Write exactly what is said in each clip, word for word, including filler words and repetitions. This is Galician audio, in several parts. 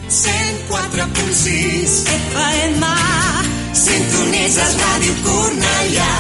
cent quatre punt sis F M. Sintonitzes Ràdio Cornellà.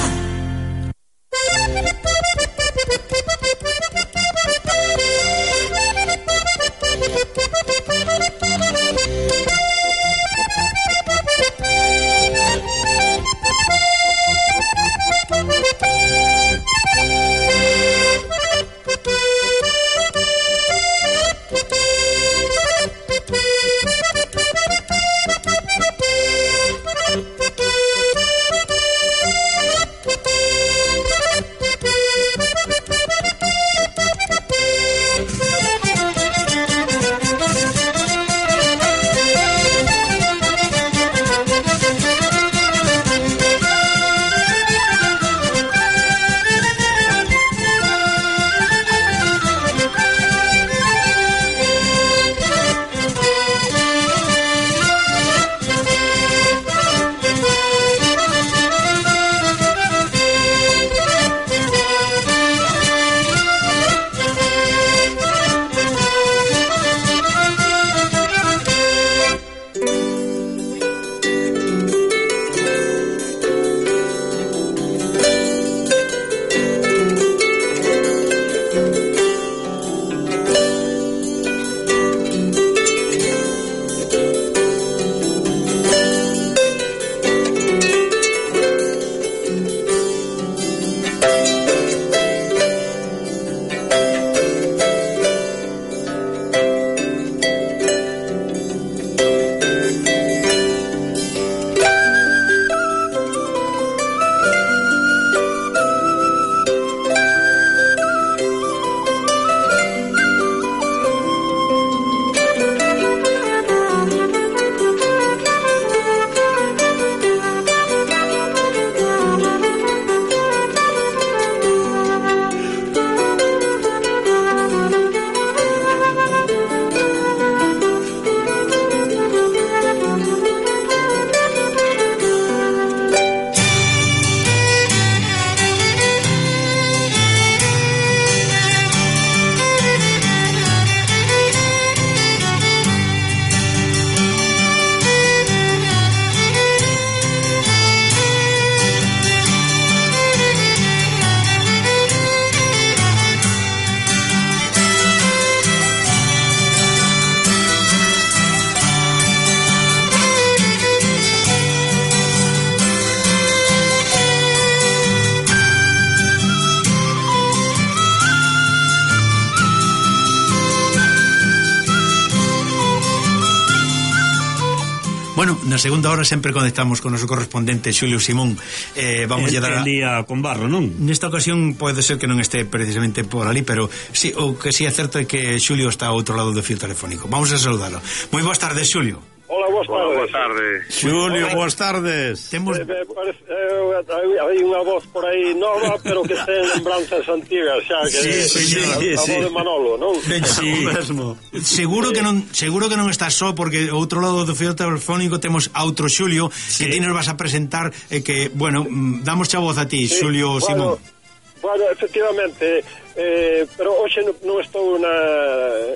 Bueno, na segunda hora sempre conectamos con o noso correspondente Xulio Simón. eh, Vamos a dar a... día con Barro, non? Nesta ocasión pode ser que non este precisamente por ali, pero sí, o que sí é certo é que Xulio está ao outro lado do fio telefónico. Vamos a saudalo. Moi boas tardes, Xulio. Hola, boas tardes. Hola, boas tardes. Xulio, boas tardes. Temos... Eh, eh, parece, eh, hai unha voz por aí nova, pero que ten lembranzas antigas xa, que Sí, sí, sí, a, sí, a sí. voz de Manolo, non? Ben, sí. Mesmo. Seguro que non seguro que non estás só, porque ao outro lado do fio telefónico temos a outro Xulio, sí, que ti nos vas a presentar, e eh, que, bueno, damos xa voz a ti, sí, Xulio Simón. Bueno, bueno, efectivamente, eh, pero hoxe non, non estou na,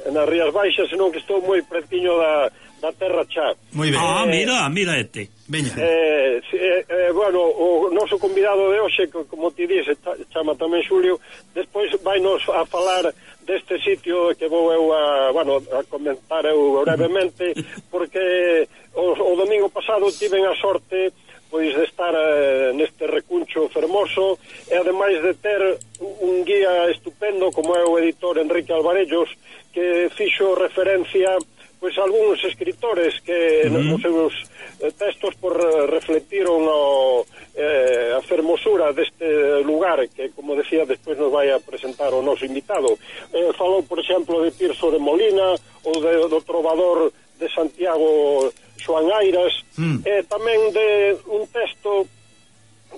nas Rías Baixas, senón que estou moi pretiño da, da terra xa. Moi ben. Ah, mira, mira este. Veña. Eh, eh, eh, bueno, o noso convidado de hoxe, como ti dices, chama tamén Xulio, despois vainos a falar deste sitio que vou eu a, bueno, a comentar eu brevemente, porque o, o domingo pasado tiven a sorte pois de estar eh, neste recuncho fermoso, e ademais de ter un guía estupendo como é o editor Enrique Alvarellos, que fixo referencia pois algúns escritores que uh-huh. nos seus eh, textos por eh, reflectiron o, eh, a fermosura deste lugar que, como decía, despois nos vai a presentar o noso invitado. Eh, falou, por exemplo, de Tirso de Molina ou de, do trovador de Santiago Xoán Airas, mm. e tamén de un texto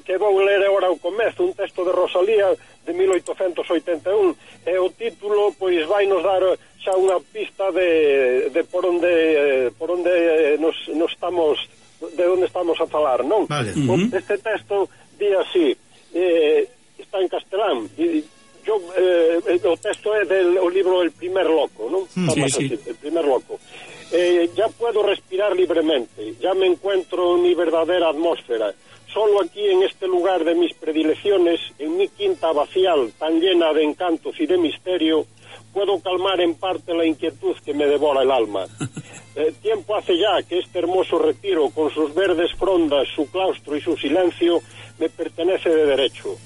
que vou ler agora ao comezo, un texto de Rosalía de mil oitocentos oitenta e un, e o título pois vai nos dar xa unha pista de, de por onde por onde nos, nos estamos, de onde estamos a falar, non? Vale. Uh-huh. Este texto di así, eh, está en castelán, e yo, eh, o texto é del o libro El primer loco, non? Mm, sí, así, sí. El primer loco. Eh, ya puedo respirar libremente, ya me encuentro en mi verdadera atmósfera. Solo aquí en este lugar de mis predilecciones, en mi quinta abacial, tan llena de encantos y de misterio, puedo calmar en parte la inquietud que me devora el alma. Eh, tiempo hace ya que este hermoso retiro, con sus verdes frondas, su claustro y su silencio, me pertenece de derecho.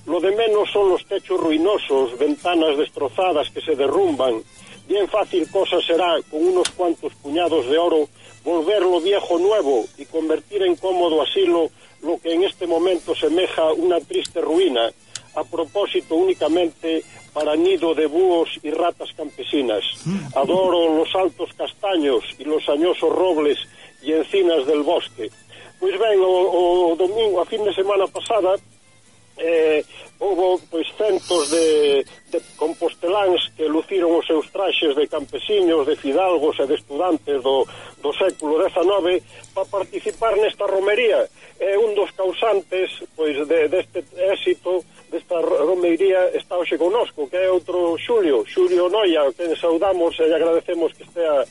Lo de menos son los techos ruinosos, ventanas destrozadas que se derrumban. Bien fácil cosa será, con unos cuantos puñados de oro, volver lo viejo nuevo y convertir en cómodo asilo lo que en este momento semeja una triste ruina, a propósito únicamente para nido de búhos y ratas campesinas. Adoro los altos castaños y los añosos robles y encinas del bosque. Pois ben, o, o domingo, a fin de semana pasada, eh, houve pois centos de, de composteláns que luciron os seus traxes de campesiños, de fidalgos e de estudantes do, do século dezenove para participar nesta romería. É un dos causantes pois de, deste éxito desta romería está hoxe conosco, que é outro Xulio, Xulio Noia, que saudamos e agradecemos que estea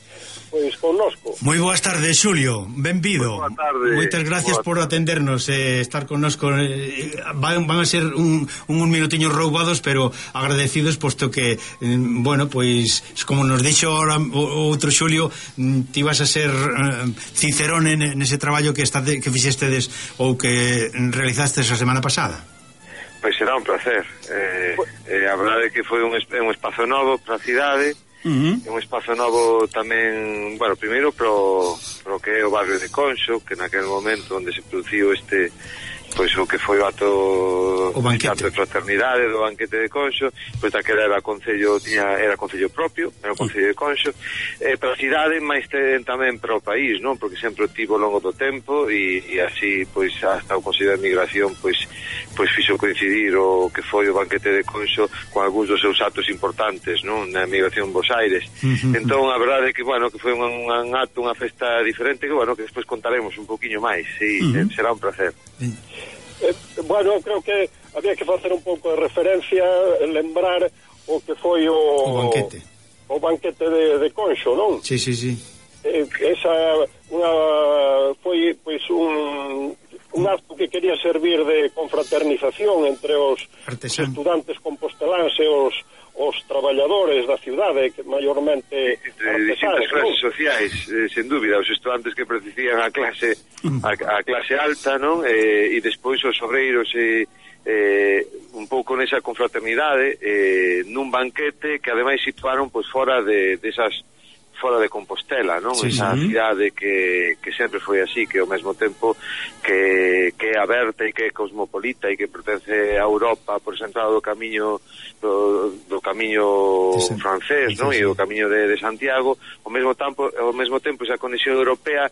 pois connosco. Moi boas tardes, Xulio, benvido. Boa tarde. Moitas gracias Boa por atendernos e eh, estar connosco. Eh, van, van a ser un, un minutiños roubados, pero agradecidos, posto que, eh, bueno, pois, como nos dixo ahora o, o outro Xulio, ti vas a ser eh, cicerón en, en ese traballo que, está de, que fixestedes ou que realizastes a semana pasada. Pois será un placer. Eh, eh, a verdade é que foi un, un espazo novo para a cidade. Uh-huh. Un espazo novo tamén, bueno, primeiro pro, pro que é o barrio de Conxo, que naquele momento onde se produciu este, pois o que foi o ato o banquete de fraternidade do banquete de Conxo, pois daquela era concello, tiña, era concello propio, era o concello de Conxo, eh, para a cidade, máis tamén para o país, non? Porque sempre o tivo ao longo do tempo e, e así, pois, hasta o Consello de Migración, pois, pois fixo coincidir o que foi o banquete de Conxo con algúns dos seus actos importantes, non? Na migración Bos Aires. Uh-huh. Entón, a verdade é que, bueno, que foi un, un acto, unha festa diferente, que, bueno, que despois contaremos un poquinho máis, sí, uh-huh. será un placer. Eh, bueno, creo que había que facer un pouco de referencia, lembrar o que foi o, o banquete o banquete de, de Conxo, non? Sí, sí, sí. Eh, esa unha, foi pois un un acto que quería servir de confraternización entre os, os estudantes composteláns e os, os traballadores da cidade, que maiormente de distintas clases sociais, eh, sen dúbida, os estudantes que pertencían á clase a, a clase alta, non? Eh, e despois os obreiros e eh, un pouco nesa confraternidade eh, nun banquete que ademais situaron pois fora de desas de fora de Compostela, non? Sí, esa sí. cidade que, que sempre foi así, que ao mesmo tempo que, que é aberta e que é cosmopolita e que pertence a Europa por esa entrada do camiño do, do camiño sí, francés, sí, non? Sí. E o camiño de, de Santiago, ao mesmo tempo, ao mesmo tempo esa conexión europea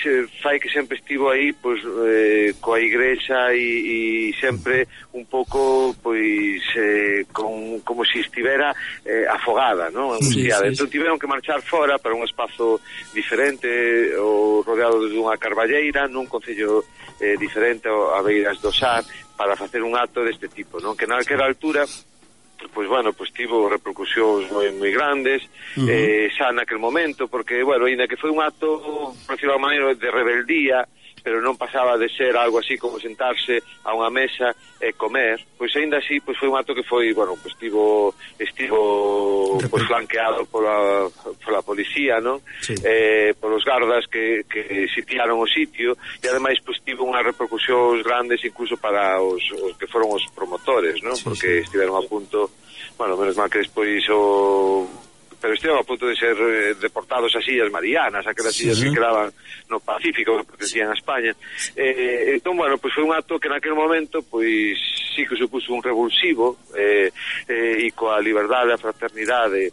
se fai que sempre estivo aí pois eh, coa igrexa e, e sempre un pouco pois eh, con, como se si estivera eh, afogada, non? Sí, sí, entón tiveron que marchar fora para un espazo diferente ou rodeado dunha carballeira nun concello eh, diferente a beiras do Sar para facer un acto deste tipo, non? Que naquela altura pois bueno, pois tivo repercusións moi moi grandes, uh-huh. eh, xa naquel momento, porque, bueno, ainda que foi un acto, por decirlo de alguma maneira, de rebeldía, pero non pasaba de ser algo así como sentarse a unha mesa e comer, pois aínda así pois foi un acto que foi, bueno, pois estivo estivo pois flanqueado pola pola policía, non? Sí. Eh, polos gardas que que sitiaron o sitio e ademais pois tivo unhas repercusións grandes incluso para os, os que foron os promotores, non? Sí, porque sí. estiveron a punto, bueno, menos mal que despois o pero estiveron a punto de ser eh, deportados a Illas Marianas, aquelas illas sí. que quedaban no Pacífico, que pertencían a España. Eh, entón, bueno, pois foi un acto que naquele momento, pois, sí que supuso un revulsivo, eh, eh, e coa liberdade, a fraternidade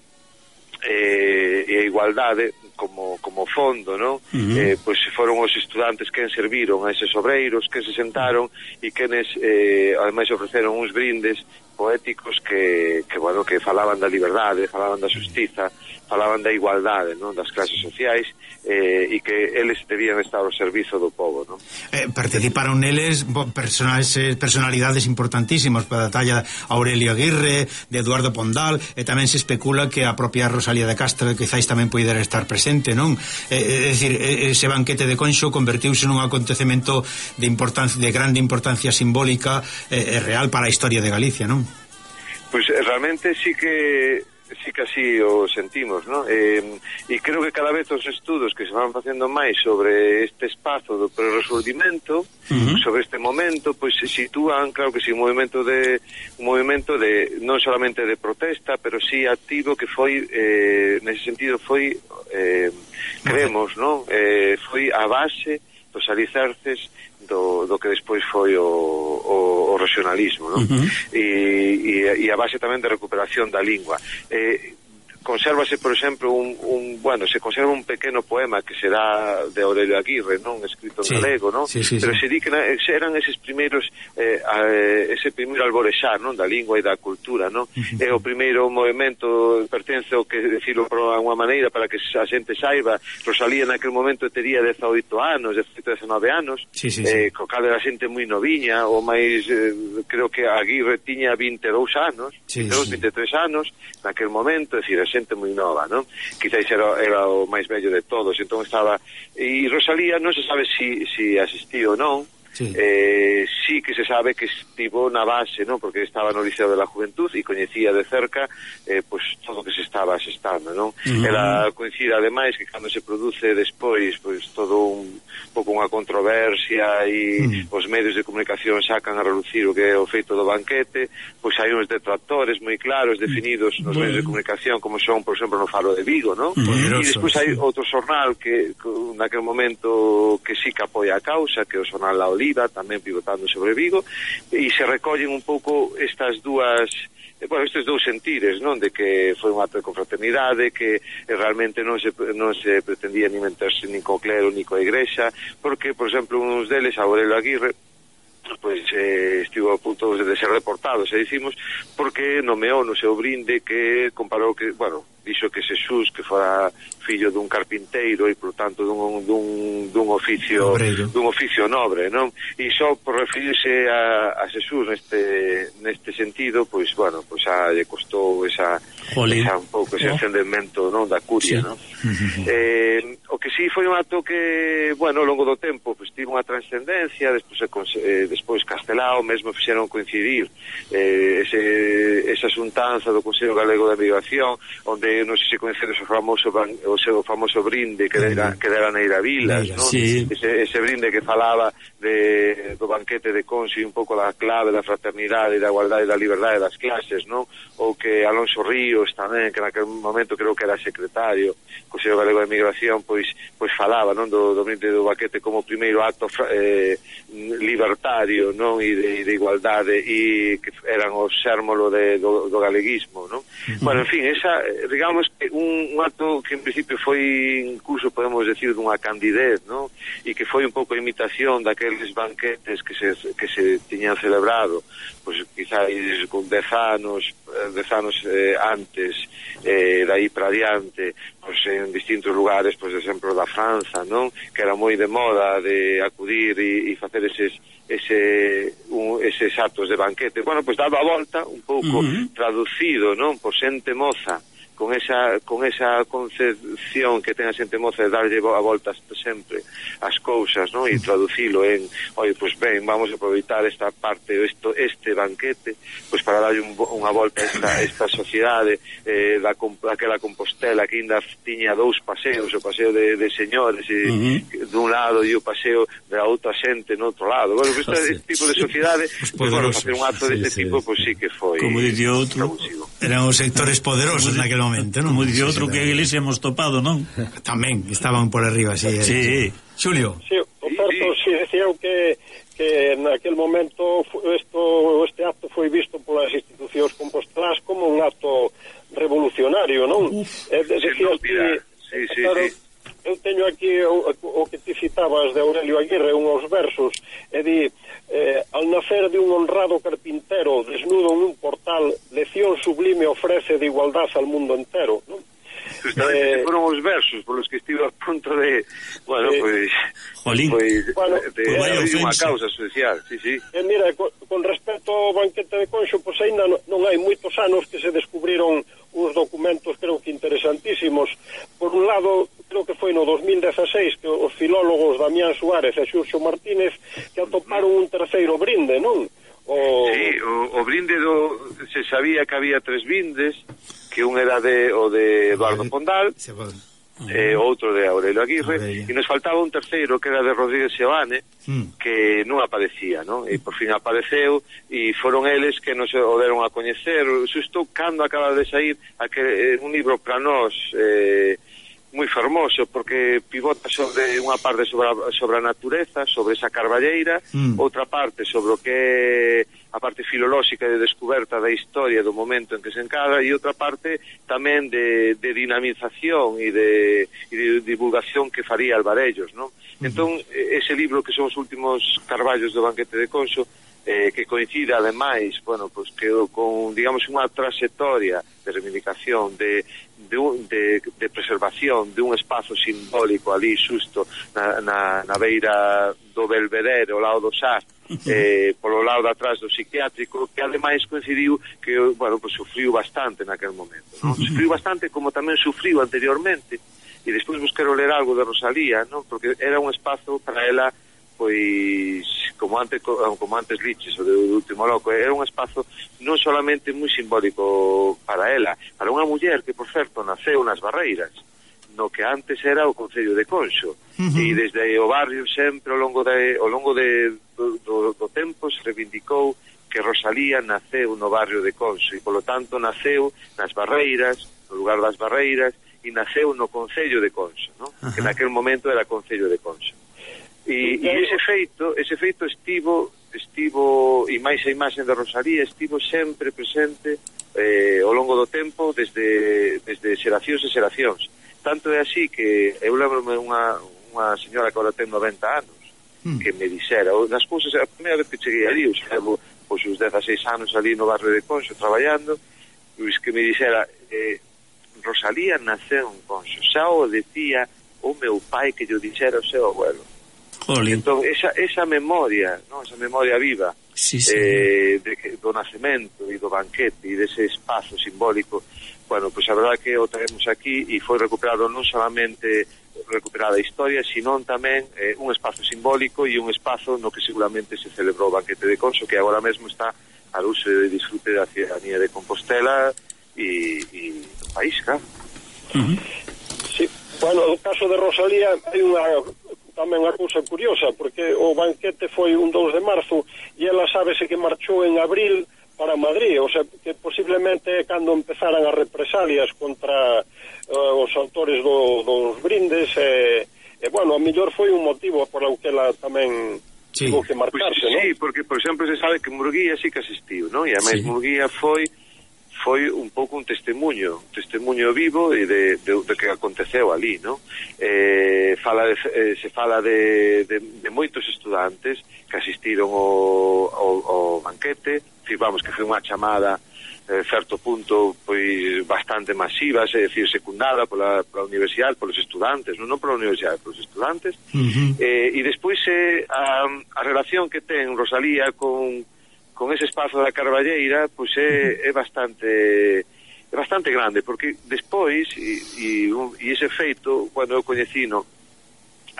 eh, e a igualdade como, como fondo, non? Uh-huh. Eh, pois foron os estudantes que serviron a eses obreiros, que se sentaron e quenes, eh, ademais ofreceron uns brindes poéticos que, que, bueno, que falaban da liberdade, falaban da xustiza, falaban da igualdade, non, das clases sociais, eh, e que eles debían estar ao servizo do povo, non? Eh, participaron neles personas, personalidades importantísimas para a talla Aurelio Aguirre, de Eduardo Pondal, e tamén se especula que a propia Rosalía de Castro quizáis tamén poidera estar presente, non? Eh, é dicir, ese banquete de Conxo convertiuse nun acontecemento de importancia, de grande importancia simbólica e eh, real para a historia de Galicia, non? Pois pues, realmente sí que sí que así o sentimos, ¿no? Eh, e creo que cada vez os estudos que se van facendo máis sobre este espazo do prerresolvimento, uh-huh. sobre este momento, pois pues, se sitúan, claro que sí, un movimento de un movimento de non solamente de protesta, pero sí activo, que foi eh, nese sentido foi eh, creemos, ¿no? Eh, foi a base dos alicerces do, do que despois foi o, o, o regionalismo, non? Uh-huh. e, e, e a base tamén de recuperación da lingua. Eh, consérvase, por exemplo, un, un, bueno, se conserva un pequeno poema que será de Aurelio Aguirre, non, escrito en sí, galego, non? Sí, sí, pero sí. Se di que eran eses primeiros eh, eh, ese primeiro alborexar, non, da lingua e da cultura, non? Uh-huh. É o primeiro movimento, pertence ao que decirlo por unha maneira para que a xente saiba. Rosalía naquele momento tería dezaoito anos, dezaoito, dezanove anos, sí, sí, eh, sí. Co cal era xente moi noviña, ou máis, eh, creo que Aguirre tiña vinte e dous anos, sí, vinte e dous, sí. vinte e tres anos, naquele momento, é dicir, xente moi nova, non? Quizáis era, era o máis bello de todos, entón estaba... E Rosalía non se sabe si, si asistiu ou non, sí. Eh, sí que se sabe que estivo na base, non? Porque estaba no Liceo de la Juventud e coñecía de cerca eh, pues, todo o que se estaba asestando, non? Uh-huh. Ela coincide ademais que cando se produce despois pues, todo un pouco unha controversia e uh-huh. os medios de comunicación sacan a relucir o que é o feito do banquete, pois hai uns detractores moi claros definidos nos uh-huh. medios de comunicación, como son, por exemplo, no Faro de Vigo, non? Uh-huh. E despois hai outro xornal que, que naquele momento que sí que apoia a causa, que é o xornal La Oliva, tamén pivotando sobre Vigo, e se recollen un pouco estas dúas, bueno, estes dous sentires, non, de que foi un acto de confraternidade, que realmente non se, non se pretendía ni meterse nin co clero, ni coa igrexa, porque, por exemplo, uns deles, Aurelio Aguirre, pois eh, estivo a punto de ser reportado, se dicimos, porque nomeou no seu brinde que comparou que, bueno, dixo que Xesús que fora fillo dun carpinteiro e por tanto dun, dun, dun oficio Obreiro. dun oficio nobre, non? E só por referirse a, a Xesús neste neste sentido, pois bueno, pois a lle costou esa, esa un pouco ese encendemento, non, da curia, sí. non? eh, o que sí foi un acto que, bueno, ao longo do tempo pois tivo unha trascendencia, despois eh, despois Castelao mesmo fixeron coincidir eh, ese, esa xuntanza do Consello Galego de Migración, onde non sei se coñecedes o famoso o seu famoso brinde que dera, que dera Neira Vilas, non? Sí. Ese, ese brinde que falaba de, do banquete de Conxo e un pouco da clave da fraternidade, da igualdade e da liberdade das clases, non? Ou que Alonso Ríos tamén, que naquele momento creo que era secretario do Consello Galego de Migración, pois pois falaba, non, do, do brinde do banquete como o primeiro acto eh, libertario, non, e de, de igualdade, e que eran o xérmolo de, do, do galeguismo, non? Uh-huh. Bueno, en fin, esa, digamos que un, un acto que en principio foi incluso, podemos decir, dunha candidez, non? E que foi un pouco a imitación daqueles banquetes que se, que se tiñan celebrado, pois quizáis con dez anos, dez anos eh, antes, eh, dai para adiante, pois en distintos lugares, pois, de exemplo, da Franza, non? Que era moi de moda de acudir e, e facer eses ese un, eses actos de banquete. Bueno, pois daba a volta un pouco uh-huh. traducido, non? Por xente moza, con esa con esa concepción que ten a xente moza de darlle a voltas sempre as cousas, non? E traducilo en, oi, pois ben, vamos a aproveitar esta parte, esto, este banquete, pois para darlle un, unha volta a esta, esta sociedade eh, da, daquela Compostela que ainda tiña dous paseos, o paseo de, de señores e, uh-huh. dun lado e o paseo da outra xente no outro lado. Bueno, este, oh, sí. este tipo de sociedade, pois, bueno, facer un acto sí, deste sí, tipo, pois sí que foi, como dice outro, eran os sectores poderosos naquele momento, non? Como dice outro, que a iglesia hemos topado, non? Tamén, estaban por arriba, sí. Sí. Xulio. Sí, o certo, sí, decía que que naquele momento esto, este acto foi visto polas institucións compostelás como un acto revolucionario, non? Eh, decías que, sí, sí, claro, sí. Eu teño aquí o, o que te citabas de Aurelio Aguirre, unhos versos, e di, eh, al nacer de un honrado carpintero desnudo en un portal, lección sublime ofrece de igualdad al mundo entero, ¿no? Justamente, eh, foron os versos polos que estive a punto de, bueno, eh, pois Jolín, pois, bueno, de, de pues abrir unha causa social, sí, sí. E mira, con, con respecto ao banquete de Conxo, pois ainda non, non hai moitos anos que se descubriron uns documentos creo que interesantísimos. Por un lado, creo que foi no dos mil dieciséis que os filólogos Damián Suárez e Xurxo Martínez que atoparon un terceiro brinde, non? O... Sí, o, o brinde do, se sabía que había tres brindes, que un era de o de Eduardo Pondal, e eh, outro de Aurelio Aguirre, Aurelio. E nos faltaba un terceiro que era de Rodríguez Seoane, mm. que non aparecía, non? E por fin apareceu, e foron eles que nos o deron a coñecer. Xusto cando acaba de sair aquel, un libro para nós eh, moi fermoso, porque pivota sobre unha parte sobre a, sobre a natureza, sobre esa carballeira, mm. outra parte sobre o que é a parte filolóxica de descoberta da historia do momento en que se encadra, e outra parte tamén de, de dinamización e de, e de divulgación que faría Alvarellos, non? Mm. Entón, ese libro que son os últimos carballos do banquete de Conxo, eh, que coincide ademais, bueno, pues que con, digamos, unha trayectoria de reivindicación, de, de, de, de preservación de un espazo simbólico ali xusto na, na, na beira do Belvedere, ao lado do Sar, eh, polo lado de atrás do psiquiátrico, que ademais coincidiu que, bueno, pues sufriu bastante naquel momento, ¿no? Sufriu bastante como tamén sufriu anteriormente, e despois vos quero ler algo de Rosalía, ¿no? Porque era un espazo para ela, pois, como antes como antes liches o do Último Loco, era un espazo non solamente moi simbólico para ela, para unha muller que, por certo, naceu nas Barreiras, no que antes era o Concello de Conxo, uh-huh. e desde o barrio sempre ao longo de ao longo de do, do, do tempo se reivindicou que Rosalía naceu no barrio de Conxo, e polo tanto naceu nas Barreiras, no lugar das Barreiras, e naceu no Concello de Conxo, ¿no? Uh-huh. Que naquel momento era Concello de Conxo. E, e ese feito, ese feito estivo, estivo, e máis a imaxen de Rosalía, estivo sempre presente eh, ao longo do tempo, desde, desde xeracións e xeracións. Tanto é así que eu lembro-me unha, unha señora que agora ten noventa anos, mm. que me dixera, nas cousas, a primeira vez que cheguei ali, eu levo pois, os dezaseis anos ali no barrio de Conxo traballando, pois que me dixera, eh, Rosalía naceu en Conxo, xa o decía o meu pai que lle dixera o seu abuelo. Jolín. Entón, esa, esa memoria, ¿no? Esa memoria viva, sí, sí. Eh, de, do nacemento e do banquete e dese espazo simbólico, bueno, pues a verdade que o traemos aquí e foi recuperado non solamente recuperada a historia, sino tamén eh, un espazo simbólico e un espazo no que seguramente se celebrou o banquete de Conxo, que agora mesmo está al uso e disfrute da ciudadanía de Compostela e, e do país, claro. Uh-huh. Sí, bueno, no caso de Rosalía hai unha tamén unha cousa curiosa, porque o banquete foi un dous de marzo e ela sábese que marchou en abril para Madrid, o sea, que posiblemente cando empezaran as represalias contra uh, os autores do, dos brindes, e, eh, eh, bueno, a mellor foi un motivo por o que ela tamén sí. Tuvo que marcarse, pues, ¿no? Sí, porque, por exemplo, se sabe que Murguía sí que asistiu, ¿no? E además sí. Murguía foi foi un pouco un testemunho, un testemunho vivo e de, de, de que aconteceu ali, ¿no? Eh, fala de, eh, se fala de, de, de moitos estudantes que asistiron ao, ao, ao banquete, vamos, que foi unha chamada eh, certo punto pois bastante masiva, é dicir, secundada pola, pola universidade, polos estudantes, non, non pola universidade, polos estudantes, uh-huh. eh, e despois eh, a, a relación que ten Rosalía con con ese espazo da Carballeira, pois é, é bastante é bastante grande, porque despois e, e, e ese feito, cando eu coñecino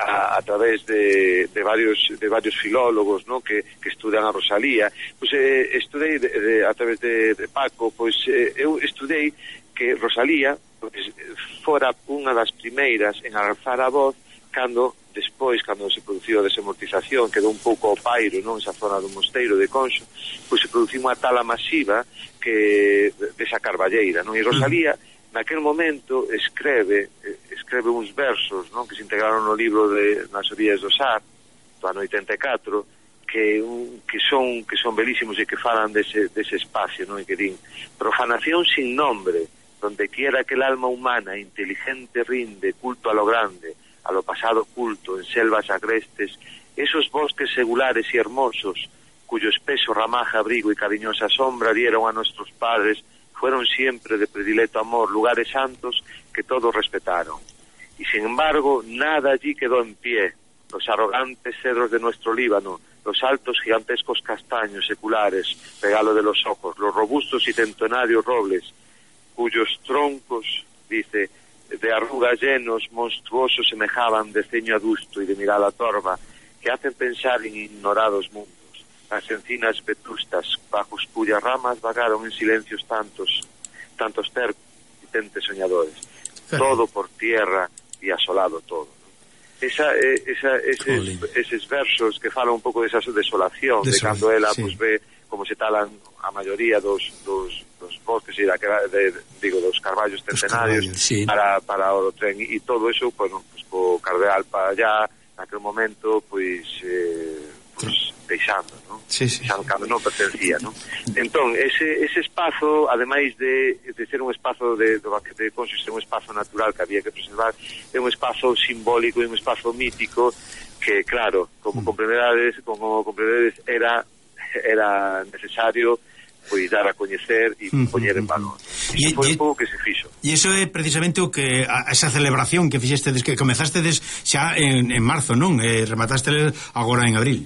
a, a través de, de varios de varios filólogos, ¿no? que, que estudan a Rosalía, pois eh, estudei de, de, a través de, de Paco, pois eh, eu estudei que Rosalía pois, fora unha das primeiras en alzar a voz cando despois, cando se produciu a desamortización, quedou un pouco ao pairo, non, esa zona do mosteiro de Conxo, pois se produciu unha tala masiva que desa Carballeira, non? E Rosalía, naquel momento, escreve escreve uns versos, non, que se integraron no libro de Nas orillas do Sar, do ano oitenta e catro, que un, que son que son belísimos e que falan dese, dese espacio, non? E que din: profanación sin nombre, donde quiera que el alma humana inteligente rinde culto a lo grande, a lo pasado oculto en selvas agrestes, esos bosques segulares y hermosos cuyo espeso ramaje, abrigo y cariñosa sombra dieron a nuestros padres, fueron siempre de predilecto amor, lugares santos que todos respetaron. Y sin embargo, nada allí quedó en pie. Los arrogantes cedros de nuestro Líbano, los altos gigantescos castaños seculares, regalo de los ojos, los robustos y centenarios robles, cuyos troncos, dice, de arrugas llenos, monstruosos semejaban de ceño adusto y de mirada torva, que hacen pensar en ignorados mundos. Las encinas vetustas, bajo cuyas ramas vagaron en silencios tantos, tantos tercos y tentes soñadores. Todo por tierra y asolado todo. Esa, esa, eses, eses versos que falan un pouco desa desolación, de, de cando ela sí. Pues, ve como se talan a maioría dos, dos, dos bosques e da, de, digo, dos carballos centenarios sí. para, para o tren e todo eso, bueno, pues, co cardeal para allá, naquel momento, pois, eh, pois, deixando, non? Sí, sí, deixando cando non pertencía, non? Entón, ese, ese espazo, ademais de, de ser un espazo de, do banquete de Conxo, ser un espazo natural que había que preservar, é un espazo simbólico e un espazo mítico que, claro, como comprendedes, como comprendedes, era, era necesario pois dar a coñecer e poñer en valor. Iso foi un pouco que se fixo. E iso é precisamente o que a, esa celebración que fixestedes, que comezastedes xa en, en marzo, non? E rematásteles agora en abril.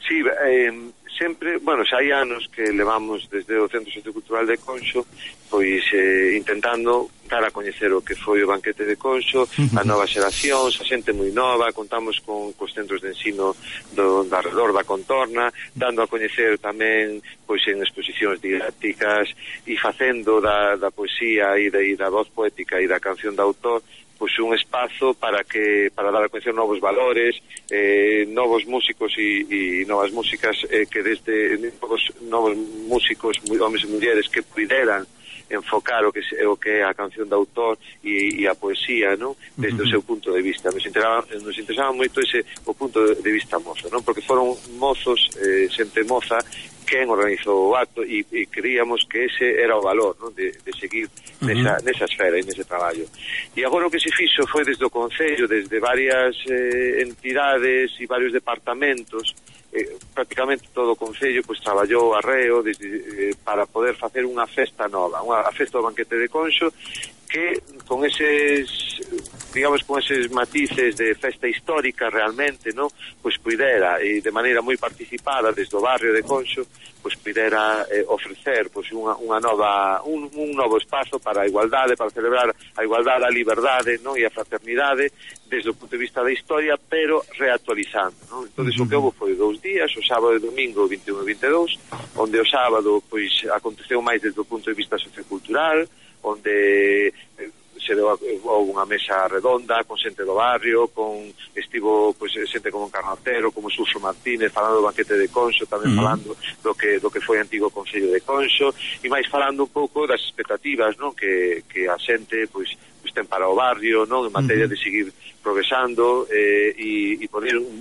Sí, eh, sempre, bueno, xa hai anos que levamos desde o Centro Sociocultural de Conxo, pois eh, intentando dar a coñecer o que foi o banquete de Conxo, a nova xeración, a xente moi nova, contamos con cos centros de ensino do, do arredor da contorna, dando a coñecer tamén pois en exposicións didácticas e facendo da, da poesía e da, e da voz poética e da canción de autor pois un espazo para que para dar a coñecer novos valores, eh, novos músicos e, e novas músicas eh, que desde novos, novos músicos, homes e mulleres que puderan enfocar o que o que é a canción de autor e, e a poesía, non? Desde uh-huh. o seu punto de vista. Nos interesaba, nos interesaba moito ese o punto de vista mozo, non? Porque foron mozos, eh, xente moza quen organizou o acto e, e creíamos que ese era o valor, non? De, de seguir uh-huh. nesa, nesa esfera e nese traballo. E agora o que se fixo foi desde o Concello, desde varias eh, entidades e varios departamentos, eh, prácticamente todo o Concello pues, traballou arreo desde, eh, para poder facer unha festa nova, unha a festa do banquete de Conxo, que con eses, digamos, con eses matices de festa histórica realmente, ¿no? Pues pudera, e de maneira moi participada desde o barrio de Conxo, pues pudera eh, ofrecer pues unha, unha nova, un, un novo espazo para a igualdade, para celebrar a igualdade, a liberdade, ¿no? E a fraternidade desde o punto de vista da historia, pero reactualizando, ¿no? Entonces uh-huh. o que houve foi dous días, o sábado e domingo vinte e un e vinte e dous, onde o sábado pois aconteceu máis desde o punto de vista sociocultural, onde se deu unha mesa redonda con xente do barrio, con estivo pois xente como Carnotero, como Suso Martínez falando do banquete de Conxo, tamén uh-huh. falando do que do que foi antigo Concello de Conxo, e máis falando un pouco das expectativas, non, que que a xente pois pois ten para o barrio, non, en materia uh-huh. de seguir progresando eh, e e poder un,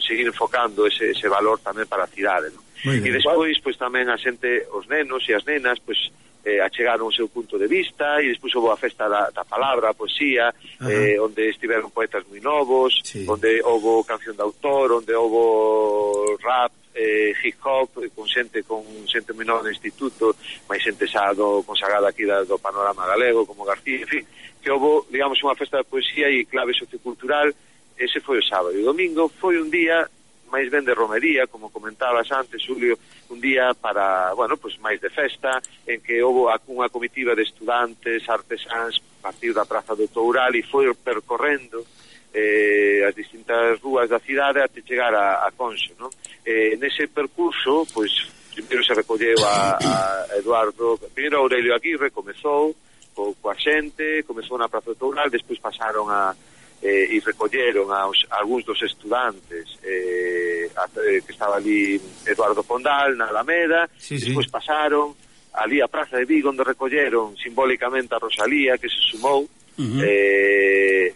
seguir enfocando ese ese valor tamén para a cidade, non? E despois pois tamén a xente, os nenos e as nenas, pois eh, achegaron o seu punto de vista e despois houve a festa da, da palabra, a poesía, eh, onde estiveron poetas moi novos, sí. onde houve canción de autor, onde houve rap, eh, hip hop, con xente con xente moi nova do instituto, máis xente xa do, consagrada aquí da, do panorama galego, como García, en fin, que houve, digamos, unha festa de poesía e clave sociocultural. Ese foi o sábado. E o domingo foi un día máis ben de romería, como comentabas antes, Julio, un día para, bueno, pues máis de festa, en que houve unha comitiva de estudantes, artesáns, partiu da Praza do Toural e foi percorrendo eh, as distintas rúas da cidade até chegar a, a Conxo, non? Eh, nese percurso, pois, primeiro se recolleu a, a Eduardo, primeiro Aurelio Aguirre, comezou co, coa xente, comezou na Praza do Toural, despois pasaron a Eh, e recolleron aos, a algúns dos estudantes eh, a, eh, que estaba ali Eduardo Pondal na Alameda, sí, despois sí. pasaron ali a Praza de Vigo onde recolleron simbólicamente a Rosalía que se sumou uh-huh. eh,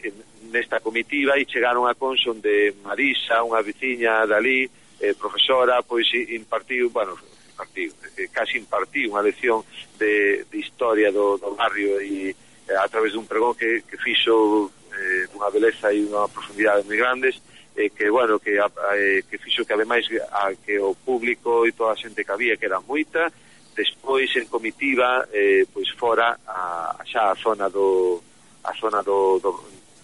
nesta comitiva e chegaron a Conxo onde Marisa, unha veciña dali, eh, profesora, pois impartiu, bueno, impartiu, eh, casi impartiu unha lección de, de historia do, do barrio e eh, a través dun pregón que, que fixo eh, dunha beleza e unha profundidade moi grandes eh, que, bueno, que, eh, que fixo que ademais a, que o público e toda a xente que había, que era moita, despois en comitiva, eh, pois fora a, xa a zona do a zona do, do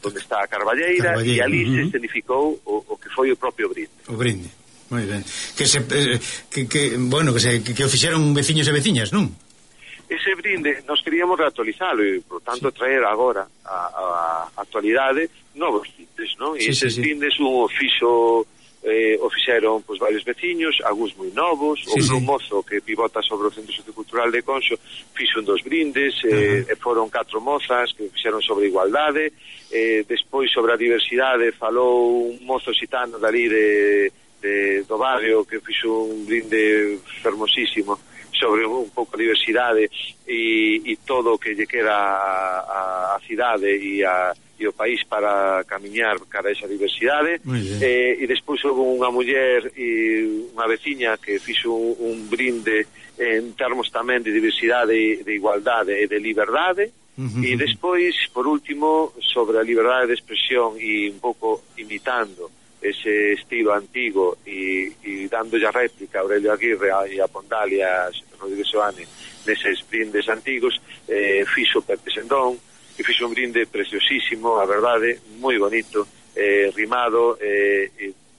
onde está a Carballeira, Carballeira. E ali uh -huh. se escenificou o, o que foi o propio brinde. O brinde, moi ben. Que se, eh, que, que, bueno, que, se, que, que o fixeron veciños e veciñas, non? Ese brinde nos queríamos reactualizalo e, por tanto, sí. traer agora a, a actualidade novos brindes, non? E sí, eses sí, sí. brindes un oficio eh, o fixeron pois, varios veciños, algúns moi novos, sí, o sí. mozo que pivota sobre o Centro Sociocultural de Conxo fixo un dos brindes, eh, uh -huh. e foron catro mozas que fixeron sobre igualdade, eh, despois sobre a diversidade falou un mozo xitano dali de, de, do barrio que fixo un brinde fermosísimo sobre un pouco a diversidade e, e todo o que lle queda a, a cidade e, a, e o país para camiñar cara a esa diversidade. Eh, e despois houve unha muller e unha veciña que fixo un, un brinde en termos tamén de diversidade, de igualdade e de liberdade. Uh -huh. E despois, por último, sobre a liberdade de expresión e un pouco imitando ese estilo antigo e, e dándolle a réplica a Aurelio Aguirre e a Pondal e a Rodríguez Soane neses brindes antigos, eh, fixo Pepe Sendón e fixo un brinde preciosísimo, a verdade, moi bonito, eh, rimado, eh,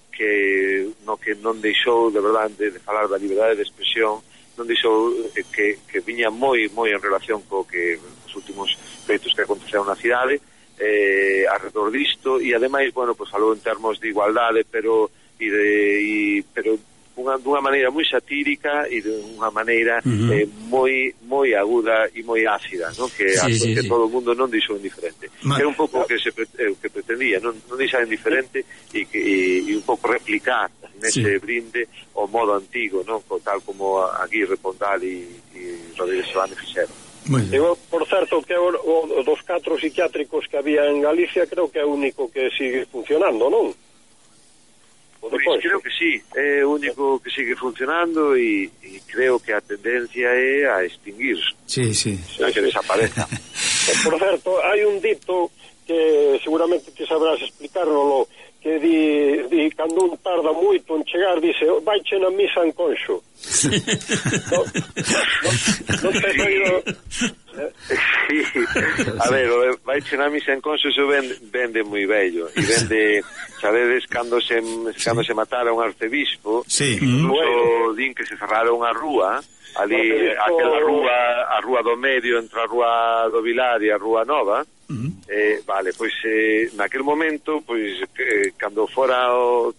que no que non deixou de verdade de falar da liberdade de expresión, non deixou eh, que, que viña moi moi en relación co que os últimos feitos que aconteceron na cidade, eh, alrededor disto, e ademais, bueno, pues falou en termos de igualdade, pero e de, e, pero unha, dunha maneira moi satírica e dunha maneira uh -huh. eh, moi moi aguda e moi ácida, ¿no? Que, sí, a, sí, que sí. todo o mundo non deixou indiferente. Ma... Era un pouco o que se eh, que pretendía, non, non deixar indiferente e, que, e, e un pouco replicar nese sí. brinde o modo antigo, ¿no? Tal como Aguirre, Pondal e, e Rodríguez Soane fixeron. Digo, por certo, que o, o dos catro psiquiátricos que había en Galicia creo que é o único que sigue funcionando, non? Pois creo que sí, é o único que sigue funcionando e, e creo que a tendencia é a extinguirse. Sí, sí. A que desapareza. Por certo, hai un dito que seguramente te sabrás explicárnoslo, que di, di cando un tarda moito en chegar, dice, vaiche na misa en Conxo. non no, no te he oído... Sí, a ver, vaiche na misa en Conxo, eso vende, vende moi bello, e vende, sabedes, cando se, cando se matara un arcebispo, sí. incluso din que se cerraron a rúa, ali, aquela rúa, a rúa do medio, entre a rúa do Vilar e a rúa Nova. Uh -huh. eh, vale, pois eh, naquel momento, pois eh, cando fora o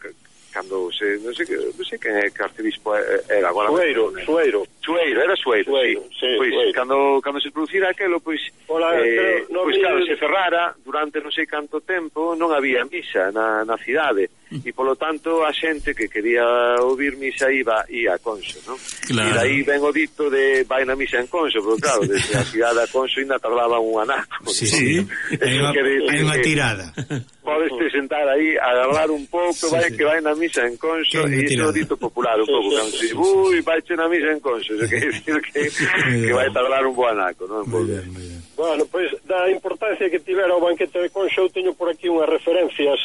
cando se, non sei que, non sei que arcebispo era agora. Sueiro, me... Sueiro. Sueiro, era Sueiro, Sueiro sí. sí pois Sueiro. cando cando se producira aquelo, pois Hola, eh, no, pois no, claro, no, se cerrara durante non sei canto tempo, non había misa na, na cidade. E polo tanto a xente que quería ouvir misa iba ia a Conxo, non? Claro. E daí ven o dito de vai na misa en Conxo, pero claro, desde a cidade a Conxo ainda tardaba un anaco. Sí, sí. Hai unha tirada. Podes te sentar aí, agarrar un pouco, sí, vai sí. que vai na misa en Conxo, e iso é o dito popular un pouco, cando se ui, vaiche na misa en Conxo, eso quer decir que, que vai tardar un bo anaco, non? Moi ben, moi ben. Bueno, pois, pues, da importancia que tivera o banquete de Conxo, eu teño por aquí unhas referencias.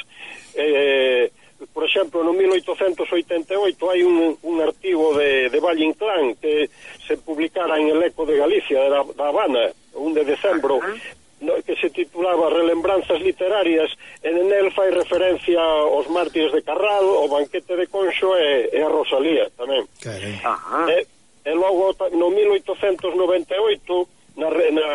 Eh, por exemplo, no mil oitocentos oitenta e oito hai un, un artigo de, de Valle Inclán que se publicara en El Eco de Galicia, da, da Habana, un de decembro, no, que se titulaba Relembranzas literarias, e nel fai referencia aos mártires de Carral, o banquete de Conxo e, e a Rosalía tamén. E, e logo no mil oitocentos noventa e oito na, na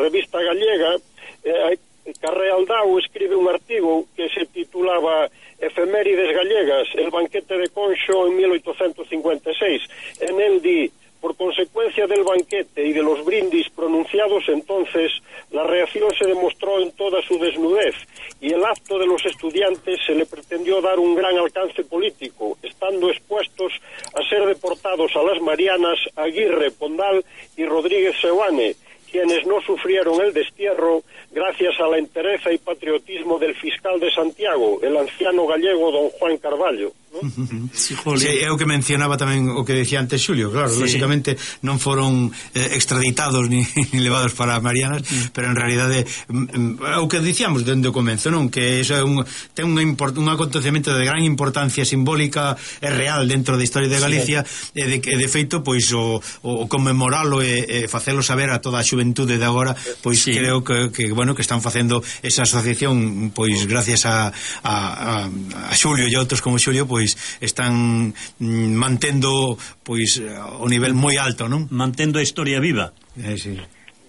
revista gallega, eh, Carré Aldao escribe un artigo que se titulaba Efemérides gallegas, el banquete de Conxo en mil oitocentos cincuenta e seis. En él di, por consecuencia del banquete y de los brindis pronunciados entonces, la reacción se demostró en toda su desnudez y el acto de los estudiantes se le pretendió dar un gran alcance político, estando expuestos a ser deportados a las Marianas Aguirre, Pondal y Rodríguez Seoane, quienes no sufrieron el destierro, gracias a la entereza y patriotismo del fiscal de Santiago, el anciano gallego don Juan Carballo, ¿no? Sí, sí, é o que mencionaba tamén o que decía antes Xulio, claro, sí. Lógicamente non foron eh, extraditados ni, ni levados para Marianas, mm. pero en realidade é o que dicíamos dende o comenzo, non? Que iso é un, ten un, import, un acontecemento de gran importancia simbólica e real dentro da historia de Galicia, sí. e, de, e de feito, pois o, o comemoralo e, e facelo saber a toda a xuventude de agora, pois sí. creo que, que bueno, que están facendo esa asociación, pois gracias a, a, a Xulio e outros como Xulio, pois están mm, mantendo pois o nivel moi alto, non? Mantendo a historia viva. Eh, sí.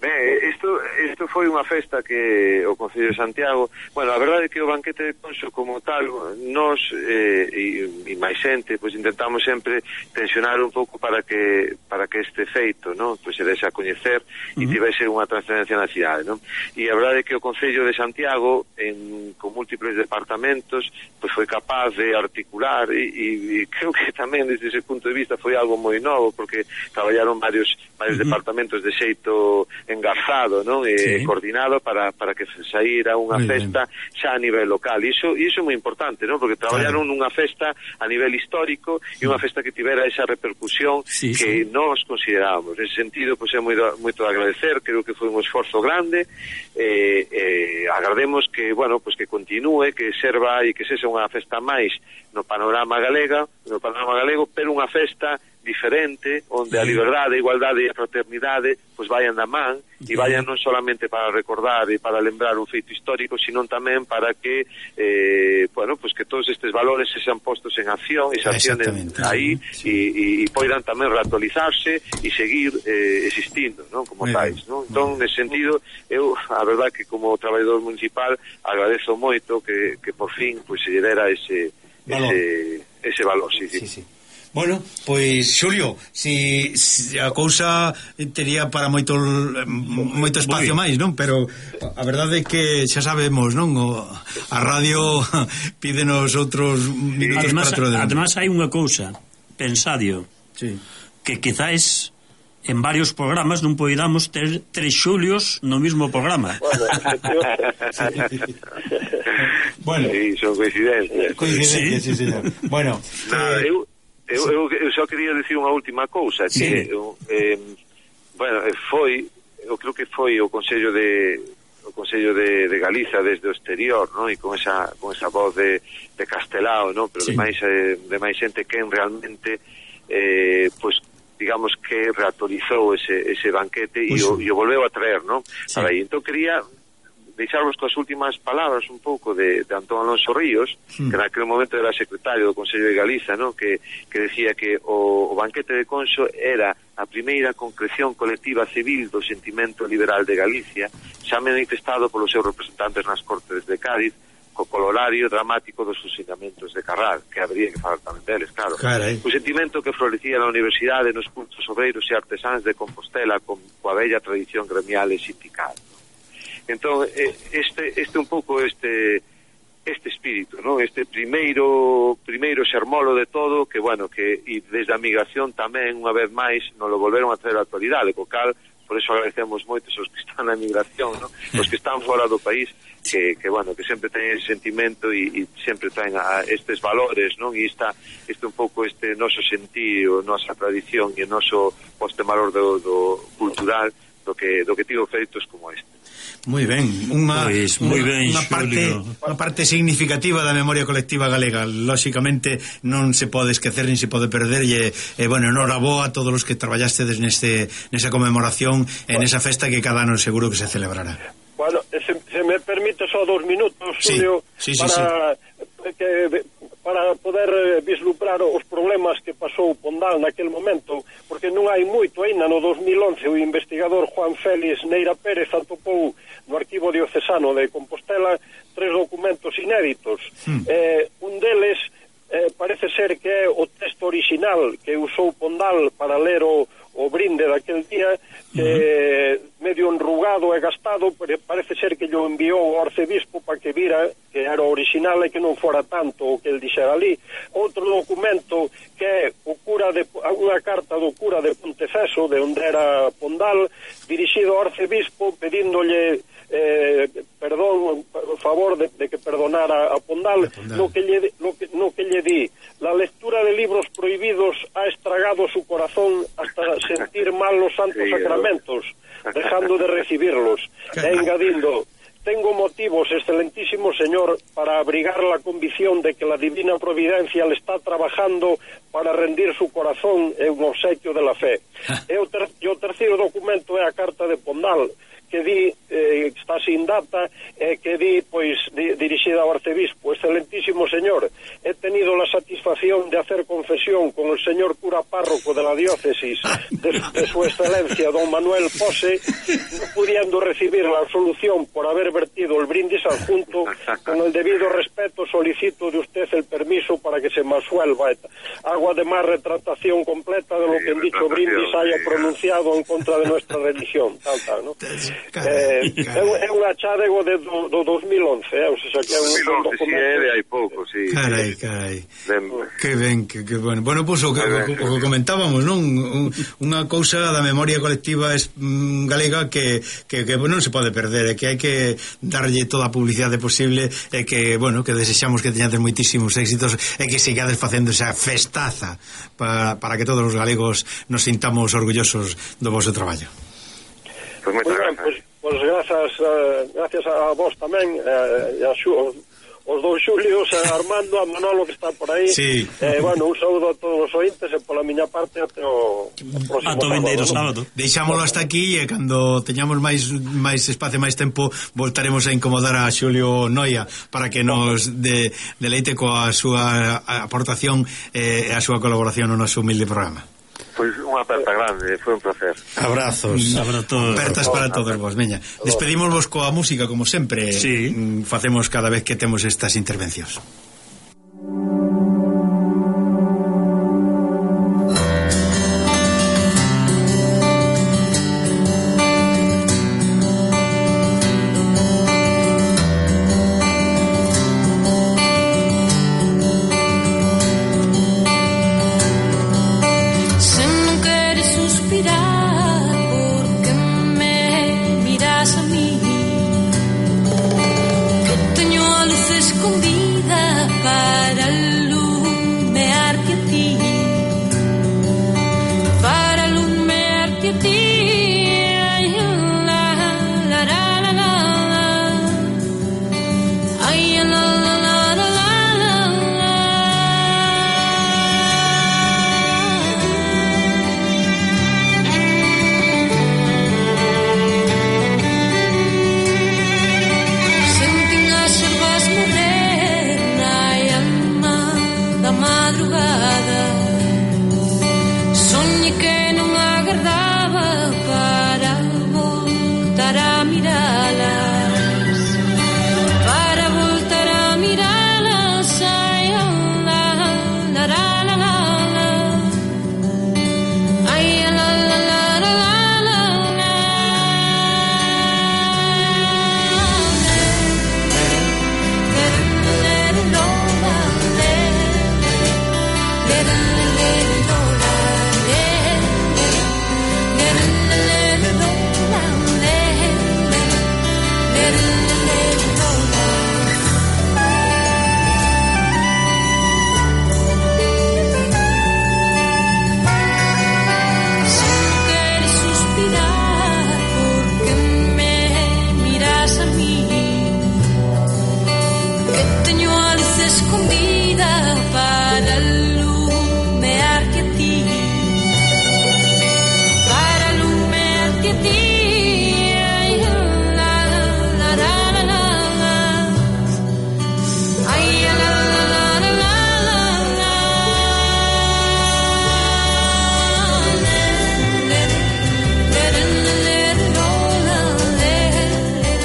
Ben, isto, isto foi unha festa que o Concello de Santiago, bueno, a verdade é que o banquete de Conso como tal, nós eh, e, e máis xente, pois intentamos sempre tensionar un pouco para que para que este feito, non, pois se dese a coñecer e uh -huh. tivese unha trascendencia na cidade, non? E a verdade é que o Concello de Santiago, en, con múltiples departamentos, pois foi capaz de articular e, e, e creo que tamén desde ese punto de vista foi algo moi novo, porque traballaron varios varios uh -huh. departamentos de xeito engarzado, non? E sí. coordinado para, para que saíra unha muy festa bien. Xa a nivel local. E iso, iso é moi importante, non? Porque traballaron claro. Nunha festa a nivel histórico e unha festa que tivera esa repercusión sí, que sí. nós considerábamos. En ese sentido, pois é moi moito agradecer, creo que foi un esforzo grande, eh, eh, agrademos que, bueno, pois que continúe, que serva e que sexa unha festa máis no panorama galega, no panorama galego, pero unha festa diferente, onde sí. a liberdade, a igualdade e a fraternidade pois vayan da man e vayan non solamente para recordar e para lembrar un feito histórico, sino tamén para que eh, bueno, pois que todos estes valores se sean postos en acción e se accionen aí sí. e, e poidan tamén reactualizarse e seguir eh, existindo, non? Como muy tais, non? Entón, nese sentido, eu, a verdad que como traballador municipal agradezo moito que, que por fin pois se lle dera ese, valor. ese, ese valor, sí, sí. sí, sí. Bueno, pois Xulio, si, si a cousa tería para moito moito espacio máis, non? Pero a verdade é que xa sabemos, non? O, a radio pídenos outros minutos además, para outro. Además hai unha cousa, pensadio, sí. que quizás en varios programas non poidamos ter tres Xulios no mismo programa. Bueno, sí, son coincidencias. Coincidencias, sí, sí señor. Bueno, nada, eu Eu, eu, eu só quería decir unha última cousa, que sí. eu, eh, bueno, foi, eu creo que foi o Consello de o Consello de, de Galiza desde o exterior, ¿no? E con esa con esa voz de, de Castelao, ¿no? Pero sí. de máis eh, de máis xente que realmente eh, pues digamos que reactualizou ese ese banquete e o, o volveu a traer, ¿no? Sí. Para aí, entón quería deixarvos coas últimas palabras un pouco de, de Antón Alonso Ríos, mm. que naquele momento era secretario do Consello de Galiza, ¿no? que, que decía que o, o banquete de Conso era a primeira concreción colectiva civil do sentimento liberal de Galicia, xa manifestado polos seus representantes nas Cortes de Cádiz, co colorario dramático dos fusilamentos de Carral, que habría que falar tamén deles, claro. Carai. O sentimento que florecía na universidade nos cultos obreiros e artesáns de Compostela con coa bella tradición gremial e sindical. Entón, este este un pouco este este espírito, ¿no? Este primeiro primeiro xermolo de todo, que bueno, que e desde a migración tamén unha vez máis nos lo volveron a traer a actualidade, co cal por eso agradecemos moito os que están na migración, ¿no? Os que están fora do país, que, que bueno, que sempre teñen ese sentimento e, e sempre traen a estes valores, non? E está este un pouco este noso sentido, nosa tradición e o noso poste valor do, do cultural do que do que tivo feitos como este. Moi ben, unha pues, moi ben, unha parte unha parte significativa da memoria colectiva galega. Lóxicamente non se pode esquecer nin se pode perder e, e bueno, enhoraboa a todos os que traballastes neste nesa conmemoración en esa festa que cada ano seguro que se celebrará. Bueno, se, se me permite só dos minutos, Julio, sí, sí, sí, para sí. que para poder vislumbrar os problemas que pasou Pondal naquel momento, porque non hai moito aínda. No dos mil once o investigador Juan Félix Neira Pérez atopou no arquivo diocesano de Compostela tres documentos inéditos. Hmm. Eh, un deles eh, parece ser que é o texto original que usou Pondal para ler o, o brinde daquel día, que uh-huh. medio enrugado e gastado, parece ser que lle enviou ao arcebispo para que vira que era original e que non fora tanto o que el dixera ali. Outro documento que é o cura de, unha carta do cura de Ponteceso, de onde era Pondal, dirixido ao arcebispo pedíndolle eh, perdón, favor de, de que perdonara a Pondal, a Pondal. No, que lle, no, que, no que lle di: la lectura de libros prohibidos ha estragado su corazón hasta sentir mal los santos sacramentos, dejando de recibirlos. E engadindo: tengo motivos, excelentísimo señor, para abrigar la convicción de que la divina providencia le está trabajando para rendir su corazón en un obsequio de la fe. E o, ter, e o terceiro documento é a carta de Pondal, que di, eh, está sin data, eh, que di, pois, di, dirixida ao arcebispo: excelentísimo señor, he tenido la satisfacción de hacer confesión con el señor cura párroco de la diócesis de, de su excelencia don Manuel Pose, no pudiendo recibir la absolución por haber vertido el brindis adjunto. Con el debido respeto solicito de usted el permiso para que se me absuelva. Hago además retratación completa de lo que en dicho brindis haya pronunciado en contra de nuestra religión, tal, tal, ¿no? Carai, eh, é un achádego de do, do dos mil once, eh? O sea, que é un, un documento. Si é de hai pouco, sí. Carai, carai. Ben. Que ben, que, que bueno. Bueno, pois pues, o, o, o, o comentábamos, non? Un, unha cousa da memoria colectiva es, mm, galega que, que, que non se pode perder, e que hai que darlle toda a publicidade posible, e que, bueno, que desexamos que teñades moitísimos éxitos e que sigades facendo esa festaza para, para que todos os galegos nos sintamos orgullosos do vosso traballo. Pues muy bien, pues, pues gracias, uh, gracias a vos tamén, uh, e a xu, os, os dous Xulios, a Armando, a Manolo que está por aí. Sí. Eh, bueno, un saúdo a todos os ointes e pola miña parte até o, o próximo sábado. Vindeiro sábado. Deixámoslo hasta aquí, e cando teñamos máis máis espacio, máis tempo, voltaremos a incomodar a Xulio Noia para que nos de, deleite coa súa aportación e eh, a súa colaboración no noso humilde programa. Pois unha aperta grande, foi un placer. Abrazos. Abrazos. Apertas para todos vos, veña. Despedimosvos coa música como sempre. Sí. Facemos cada vez que temos estas intervencións.